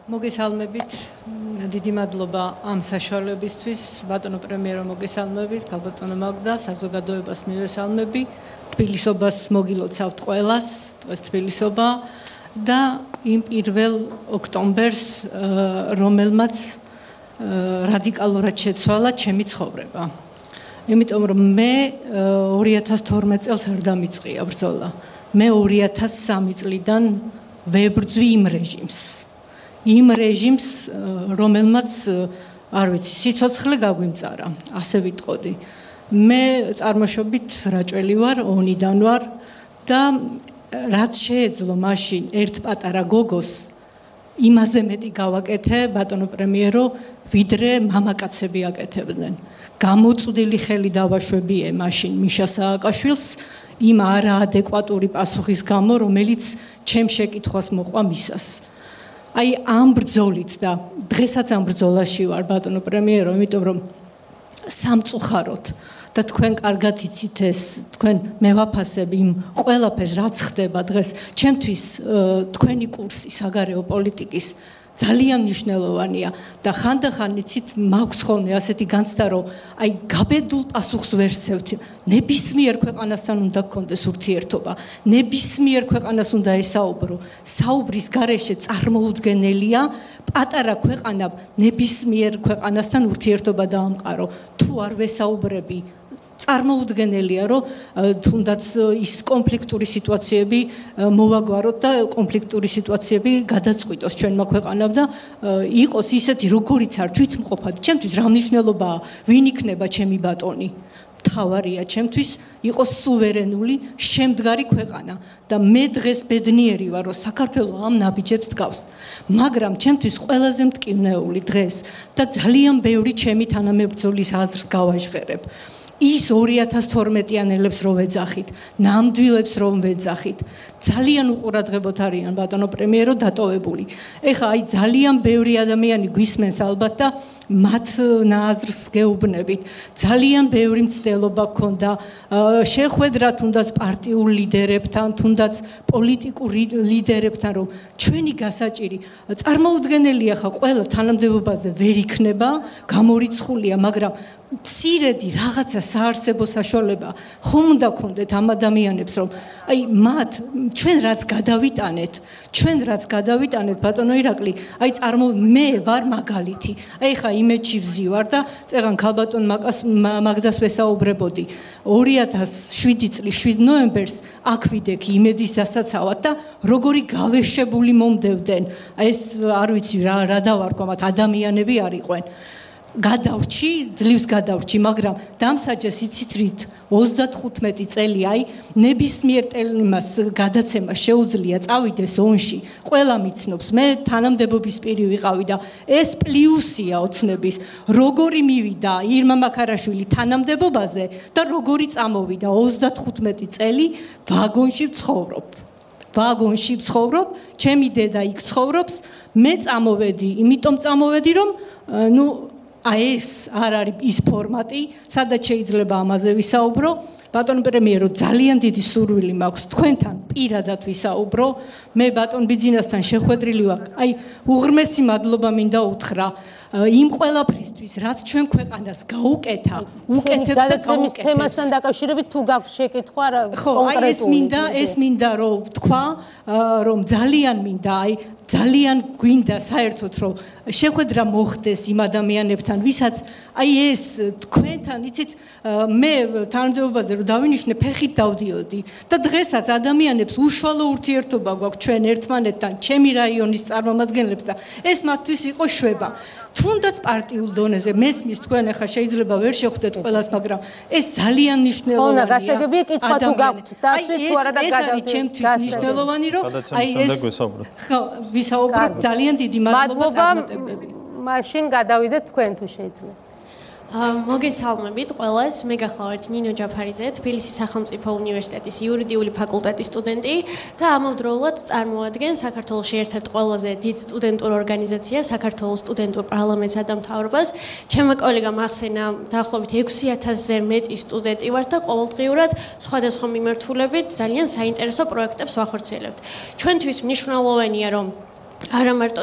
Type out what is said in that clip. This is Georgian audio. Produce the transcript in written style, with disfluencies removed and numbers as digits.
მოგესალმებით, დიდი მადლობა ამ საშუალებისთვის, ბატონო პრემიერო მოგესალმებით, ქალბატონო მაგდა, საზოგადოებას მივესალმები, თბილისობას მოგილოცავთ ყველას, დღეს თბილისობა და იმ 1 ოქტომბერს, რომელმაც რადიკალურად შეცვალა ჩემი ცხოვრება. იმიტომ რომ მე 2012 წელს არ დამიწყია ბრძოლა. მე 2003 წლიდან ვებრძვი იმ რეჟიმს, რომელმაც არ ვიცი, სიცოცხლე გაგვიმწარა, ასე ვიტყოდი. მე წარმოშობით რაჭველი ვარ, ონიდან ვარ და რაც შეეძლო მაშინ ერთ პატარა გოგოს იმაზე მეტი გავაკეთე, ბატონო პრემიერო, ვიდრე მამაკაცები აკეთებდნენ. გამოწვდილი ხელი დავაშვებიე მაშინ მიშა სააკაშვილს იმ არაადეკვატური პასუხის გამო, რომელიც ჩემ შეკითხვას მოყვა მისას. აი ამ ბრძოლით და დღესაც ამ ბრძოლაში ვარ, ბატონო პრემიერო, იმიტომ რომ სამწუხაროდ და თქვენ კარგად იცით ეს, თქვენ მევაფასებ იმ ყველაფერს, რაც ხდება დღეს, ჩემთვის თქვენი კურსი საგარეო პოლიტიკის ძალიან მნიშვნელოვანია და ხანდახან იცით მაქვს ხოლმე ასეთი განცდა, რომ აი გაბედულ პასუხს ვერ ვცევთ. ნებისმიერ ქვეყანასთან უნდა გქონდეს ურთიერთობა, ნებისმიერ ქვეყანას უნდა ესაუბრო. საუბრის გარეშე წარმოუდგენელია პატარა ქვეყანა ნებისმიერ ქვეყანასთან ურთიერთობა დაამყარო. თუ არ ვესაუბრები, წარმოუდგენელია, რომ თუნდაც ის კონფლიქტური სიტუაციები მოვაგვაროთ და კონფლიქტური სიტუაციები გადაწყვიტოს ჩვენმა ქვეყანამ და იყოს ისეთი, როგორიც არ თვითმყოფად. ჩემთვის რა მნიშვნელობაა, ვინ იქნება ჩემი ბატონი? მთავარია ჩემთვის იყოს სუვერენული, შემდგარი ქვეყანა და მე დღეს ბედნიერი ვარ, რომ საქართველო ამ ნაბიჯებს დგავს. მაგრამ ჩემთვის ყველაზე მტკივნეული დღეს და ძალიან ბევრი ჩემი თანამებრძოლის აზრს გავაჟღერებ. ის 2012-იანელებს რომ ვეძახით, ნამდვილებს რომ ვეძახით, ძალიან უყურადღებოთ არიან ბატონო პრემიერო დატოვებული. ეხლა აი ძალიან ბევრი ადამიანი გვისმენს ალბათ და მათ ნაზრს გეუბნებით. ძალიან ბევრი მცდელობა გქონდა შეხვედრა თუნდაც პარტიულ ლიდერებთან, თუნდაც პოლიტიკურ ლიდერებთან, რომ ჩვენი გასაჭირი წარმოუდგენელია ხა ყველა თანამდებობაზე ვერ იქნება, გამორიცხულია, მაგრამ მცირედი რაღაცა საარსებო საშუალება ხომ უნდა გქონდეთ ამ ადამიანებს, რომ აი მათ ჩვენ რაც გადავიტანეთ, ბატონო ირაკლი, აი მე ვარ მაგალითი. აი ხა იმედში ვზივარ და წეგან ქალბატონ მაგდას ვესაუბრებოდი 2007 წლის 7 ნოემბერს აქ ვიდექი იმედის დასაცავად და როგორი გავეშებული მომდევდნენ. აი ეს არ ვიცი რა დავარქვა, მათ ადამიანები არ იყვნენ. ძლივს გადავრჩი, მაგრამ დამსაჯეს იცით რით 35 წელი აი ნებისმიერ ტელიმას გადაცემა შეუძლია წავიდეს ონში. ყველა მიცნობს, მე თანამდებობის პირი ვიყავი და ეს პლუსია ოცნების, როგორი მივიდა ირმა მაქარაშვილი თანამდებობაზე და როგორი წამოვიდა 35 წელი ვაგონში ვცხოვრობ, ჩემი დედა იქ ცხოვრობს, მე წამოვედი, იმიტომ წამოვედი, რომ აი ეს არ არის ის ფორმატი, სადაც შეიძლება ამაზე ვისაუბრო. ბატონ პრემიერო, ძალიან დიდი სურვილი მაქვს თქვენთან პირადად ვისაუბრო. მე ბატონ ბიძინასთან შეხვედრილი ვარ. აი უღრმესი მადლობა მინდა უთხრა იმ ყველაფრისთვის, რაც ჩვენ ქვეყანას გაუკეთა, უკეთებს და გაუკეთებს. თემასთან დაკავშირებით თუ გაქვს შეკითხვა კონკრეტული. ეს მინდა რომ ვთქვა, რომ ძალიან მინდა, ძალიან გვინდა საერთოდ რომ შეხვედრა მოხდეს იმ ადამიანებთან, ვისაც აი ეს თქვენთან, იცით, მე თანამდებობაზე რომ დავინიშნე, ფეხით დავდიოდი და დღესაც ადამიანებს უშუალო ურთიერთობა გვაქვს ჩვენ ერთმანეთთან, ჩემი რაიონის წარმომადგენლებს და ეს მათთვის იყო შვება. თუნდაც პარტიულ დონეზე მესმის თქვენ ახლა შეიძლება ვერ შეხვდეთ ყველას, მაგრამ ეს ძალიან მნიშვნელოვანია. გასაგებია კითხვა თუ გაქვთ დასვით თუ არა და გადავდეთ. ეს ჩემთვის მნიშვნელოვანი, რომ აი ეს ვისაუბროთ. ძალიან დიდი მადლობა წარმატებები. მაშინ გადავიდეთ თქვენ თუ შეიძლება. მოგესალმებით ყველას, მე გახლავართ ნინო ჯაფარიძე, თბილისის სახელმწიფო უნივერსიტეტის იურიდიული ფაკულტეტის სტუდენტი და ამავდროულად წარმოადგენ საქართველოში ერთ-ერთ ყველაზე დიდ სტუდენტურ ორგანიზაციას, საქართველოს სტუდენტურ პარლამენტსა და მთავრობას. ჩემმა კოლეგამ ახსენა დაახლოებით 6000-ზე მეტი სტუდენტი ვართ და ყოველდღიურად სხვადასხვა მიმართულებით ძალიან საინტერესო პროექტებს ვახორციელებთ. ჩვენთვის მნიშვნელოვანია, რომ არა მარტო